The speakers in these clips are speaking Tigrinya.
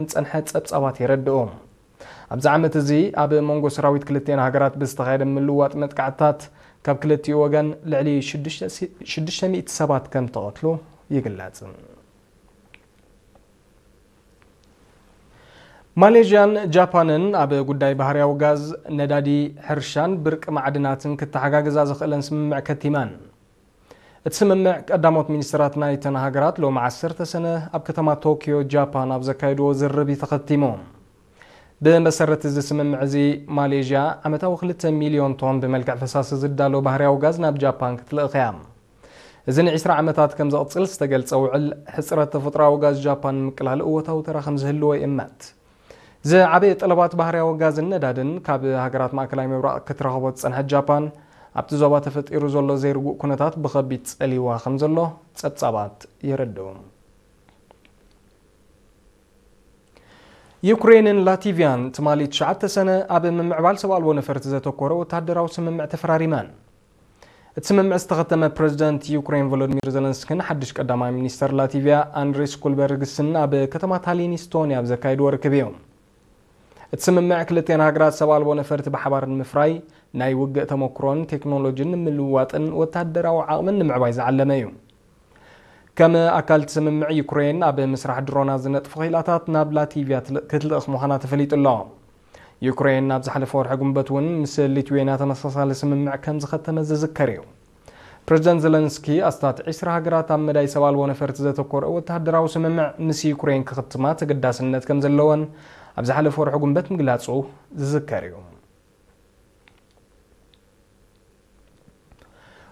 ዝጸንሐ ጸብጻባት የረድኡ። ኣብዚ ዓመት እዚ ኣብ መንጎ ሰራዊት ክልቲአን ሃገራት ብዝተኻየደ ምልውዋጥ መጥቃዕትታት ካብ ክልቲኡ ወገን ልዕሊ ሽዱሽተ ሽዱሽተ ሚእቲ ሰባት ከም ተቐትሉ ይግለጽ። ማሌዥያን ጃፓንን ኣብ ጉዳይ ባህርያዊ ጋዝ፣ ነዳዲ፣ ሕርሻን ብርቂ ማዕድናትን ክተሓጋግዛ ዝኽእለን ስምምዕ ከቲመን። እቲ ስምምዕ ቀዳሞት ሚኒስትራት ናይተን ሃገራት ሎሚ ዓሰርተ ሰነ ኣብ ከተማ ቶኪዮ ጃፓን ኣብ ዘካየድዎ ዝርርብ እዩ ተኸቲሙ። ብመሰረት እዚ ስምምዕ እዚ ማሌዥያ ዓመታዊ ክልተ ሚልዮን ቶን ብመልክዕ ፈሳሲ ዝዳሎ ባህርያዊ ጋዝ ናብ ጃፓን ክትልእኽ እያ። እዚ ንዒስራ ዓመታት ከም ዘቕጽል ዝተገልጸ ውዕል፣ ሕጽረት ተፈጥሮኣዊ ጋዝ ጃፓን ንምቅላል እወታዊ ተራ ከም ዝህልዎ ይእመት። ዝዓበየ ጠለባት ባህርያዊ ጋዝን ነዳድን ካብ ሃገራት ማእከላይ ምብራቕ ክትረኽቦ ዝጸንሐት ጃፓን፣ ኣብቲ ዞባ ተፈጢሩ ዘሎ ዘይርጉእ ኩነታት ብኸቢድ ጸሊዋ ከም ዘሎ ጸብጻባት የረድኡ። ዩክሬንን ላቲቪያን ትማሊ ትሽዓተ ሰነ ኣብ ምምዕባል ሰብ ኣልቦ ነፈርቲ ዘተኮረ ወተሃደራዊ ስምምዕ ተፈራሪመን። እቲ ስምምዕ ዝተኸተመ ፕረዚደንት ዩክሬን ቮሎዲሚር ዘለንስኪን ሓድሽ ቀዳማይ ሚኒስተር ላቲቪያ ኣንድሪስ ኩልበርግስን ኣብ ከተማ ታሊን ኢስቶንያ ኣብ ዘካየድዎ ርክብ እዩ። እቲ ስምምዕ ክልቲአን ሃገራት ሰብ ኣልቦ ነፈርቲ ብሓባር ንምፍራይ፣ ናይ ውግእ ተመክሮን ቴክኖሎጂን ንምልውዋጥን ወተሃደራዊ ዓቕምን ንምዕባይ ዝዓለመ እዩ። ከም ኣካል እቲ ስምምዕ፣ ዩክሬን ኣብ ምስራሕ ድሮናት ዝነጥፉ ክኢላታት ናብ ላቲቪያ ትል-፣ ክትልእኽ ምዃና ተፈሊጡ ኣሎ። ዩክሬን ኣብ ዝሓለፈ ወርሒ ግንቦት እውን ምስ ሊትዌንያ ተመሳሳሊ ስምምዕ ከም ዝኸተመ ዝዝከር እዩ። ፕረዚደንት ዘለንስኪ ኣስታት ዒስራ ሃገራት ኣብ መዳይ ሰብ ኣልቦ ነፈርቲ ዘተኮረ ወተሃደራዊ ስምምዕ ምስ ዩክሬን ክኽትማ ተገዳስነት ከም ዘለወን ኣብ ዝሓለፈ ወርሒ ግንቦት ምግላጹ ዝዝከር እዩ።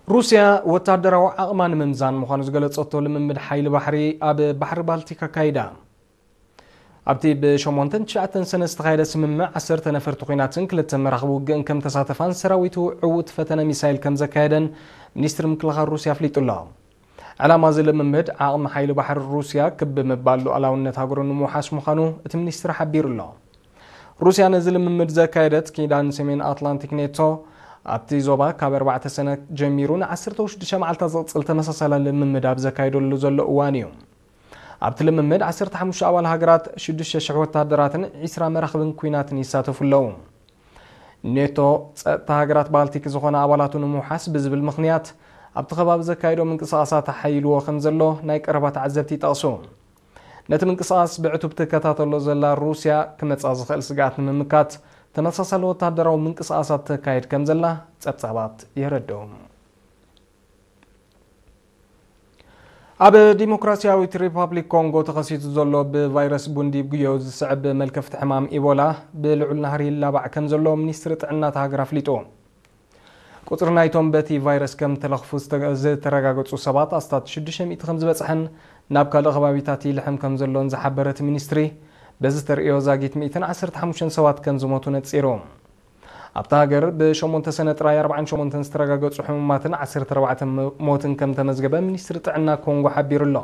ሩስያ ወተሃደራዊ ዓቕማ ንምምዛን ምዃኑ ዝገለጸቶ ልምምድ ሓይሊ ባሕሪ ኣብ ባሕሪ ባልቲክ ኣካይዳ። ኣብቲ ብሸሞንተን ትሽዓተን ሰነ ዝተኻየደ ስምምዕ፣ ዓሰርተ ነፈርቲ ኲናትን ክልተ መራኽቢ ውግእን ከም ተሳተፋን ሰራዊቱ ዕዉት ፈተነ ሚሳይል ከም ዘካየደን ሚኒስትሪ ምክልኻል ሩስያ ኣፍሊጡ ኣሎ። ዕላማ እዚ ልምምድ፣ ዓቕሚ ሓይሊ ባሕሪ ሩስያ ክብ ምባል ሉዓላውነት ሃገሩ ንምውሓስ ምዃኑ እቲ ሚኒስትሪ ሓቢሩ ኣሎ። ሩስያ ነዚ ልምምድ ዘካየደት፣ ኪዳን ሰሜን ኣትላንቲክ ኔቶ ኣብቲ ዞባ ካብ ኣርባዕተ ሰነ ጀሚሩ ንዓሰርተ ሽዱሽተ መዓልታት ዝቕጽል ተመሳሳሊ ልምምድ ኣብ ዘካየደሉ ዘሎ እዋን እዩ። ኣብቲ ልምምድ ዓሰርተ ሓሙሽተ ኣባል ሃገራት፣ ሽዱሽተ ሽሕ ወተሃደራትን ዒስራ መራኽብን ኲናትን ይሳተፉ ኣለዉ። ኔቶ፣ ጸጥታ ሃገራት ባልቲክ ዝኾና ኣባላቱ ንምውሓስ ብዝብል ምኽንያት፣ ኣብቲ ከባቢ ዘካየዶ ምንቅስቓሳት ኣሓይልዎ ከም ዘሎ ናይ ቀረባ ተዓዘብቲ ይጠቕሱ። ነቲ ምንቅስቓስ ብዕቱብ ትከታተሎ ዘላ ሩስያ፣ ክመጻ ዝኽእል ስግኣት ንምምካት፣ ተመሳሳሊ ወተሃደራዊ ምንቅስቓሳት ተካይድ ከም ዘላ ጸብጻባት የረድኡ። ኣብ ዲሞክራሲያዊት ሪፓብሊክ ኮንጎ ተኸሲቱ ዘሎ ብቫይረስ ቡንዲ ብጉዮ ዝስዕብ መልከፍቲ ሕማም ኢቦላ ብልዑል ናህሪ ይላባዕ ከም ዘሎ ሚኒስትሪ ጥዕና እታ ሃገር ኣፍሊጡ። ቁጽሪ ናይቶም በቲ ቫይረስ ከም ተለኽፉ ዝተ-፣ ዝተረጋገጹ ሰባት ኣስታት ሽዱሽተ ሚእቲ ከም ዝበጽሐን ናብ ካልእ ከባቢታት ይልሕም ከም ዘሎን ዝሓበረ እቲ ሚኒስትሪ፣ በዚ ተርእዮ ዛጊት ሚእትን ዓሰርተ ሓሙሽተን ሰባት ከም ዝሞቱ ነጺሩ። ኣብታ ሃገር ብሸሞንተ ሰነ ጥራይ ኣርባዓን ሸሞንተን ዝተረጋገጹ ሕሙማትን ዓሰርተ ኣርባዕተ ሞ-፣ ሞትን ከም ተመዝገበ ሚኒስትሪ ጥዕና ኮንጎ ሓቢሩ ኣሎ።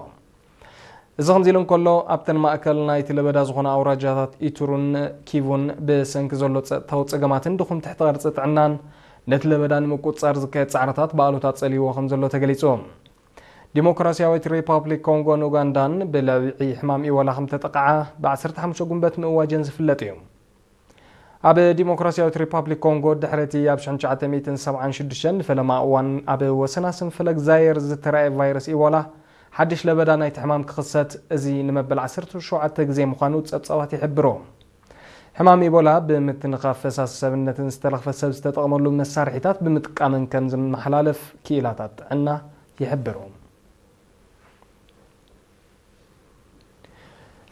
እዚ ከምዚ ኢሉ እንከሎ፣ ኣብተን ማእከል ናይቲ ለበዳ ዝኾና ኣውራጃታት ኢቱሩን ኪቡን ብሰንኪ ዘሎ ጸጥታዊ ጸገማትን ድኹም ትሕቲ ቅርጺ ጥዕናን ነቲ ለበዳ ንምቁጽጻር ዝካየድ ጻዕርታት ብኣሉታ ጸልይዎ ከም ዘሎ ተገሊጹ። ዲሞክራሲያዊት ሪፓብሊክ ኮንጎን ኡጋንዳን ብለብዒ ሕማም ኢቦላ ከም ተጠቕዓ ብዓሰርተ ሓሙሽተ ጉንበት ምእዋጀን ዝፍለጥ እዩ። ኣብ ዲሞክራሲያዊት ሪፓብሊክ ኮንጎ፣ ድሕሪ እቲ ኣብ ሽሕን ትሽዓተ ሚእትን ሰብዓን ሽዱሽተን ንፈለማ እዋን ኣብ ወሰናስን ፈለግ ዛየር ዝተራእየ ቫይረስ ኢቦላ፣ ሓድሽ ለበዳ ናይቲ ሕማም ክኽሰት፣ እዚ ንመበል ዓሰርተ ሸውዓተ ግዜ ምዃኑ ጸብጻባት ይሕብሩ። ሕማም ኢቦላ ብምትንኻፍ ፈሳሲ ሰብነትን ዝተለኽፈ ሰብ ዝተጠቕመሉ መሳርሒታት ብምጥቃምን ከም ዝመሓላለፍ ክኢላታት ጥዕና ይሕብሩ።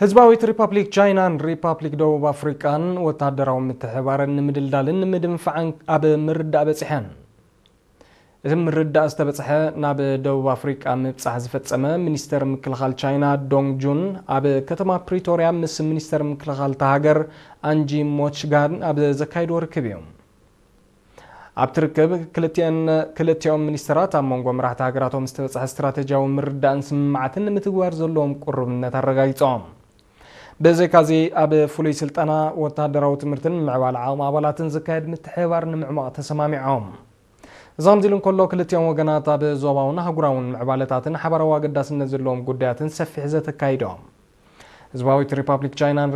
ህዝባዊት ሪፓብሊክ ቻይናን ሪፓብሊክ ደቡብ ኣፍሪቃን ወተሃደራዊ ምትሕብባረን ንምድልዳልን ንምድንፋዕን ኣብ ምርዳእ በጺሐን። እቲ ምርዳእ ዝተበጽሐ ናብ ደቡብ ኣፍሪቃ ምብጻሕ ዝፈጸመ ሚኒስተር ምክልኻል ቻይና ዶንግ ጁን፣ ኣብ ከተማ ፕሪቶርያ ምስ ሚኒስተር ምክልኻል እታ ሃገር ኣንጂ ሞችጋን ኣብ ዘካየድዎ ርክብ እዩ። ኣብቲ ርክብ ክልቲአን፣ ክልቲኦም ሚኒስተራት ኣብ መንጎ መራሕቲ ሃገራቶም ዝተበጽሐ ስትራተጂያዊ ምርዳእን ስምምዓትን ንምትግባር ዘለዎም ቅሩብነት ኣረጋጊጾም። ብዘይካዚ፣ ኣብ ፍሉይ ስልጠና፣ ወተሃደራዊ ትምህርትን ምዕባለ ዓቕሚ ኣባላትን ዝካየድ ምትሕብባር ንምዕማቕ ተሰማሚዖም። እዚ ከምዚ ኢሉ እንከሎ፣ ክልቲኦም ወገናት ኣብ ዞባውን ኣህጉራውን ምዕባለታትን ሓባራዊ ኣገዳስነት ዘለዎም ጉዳያትን ሰፊሕ ዘተ ኣካይዶም። ህዝባዊት ሪፓብሊክ ቻይናን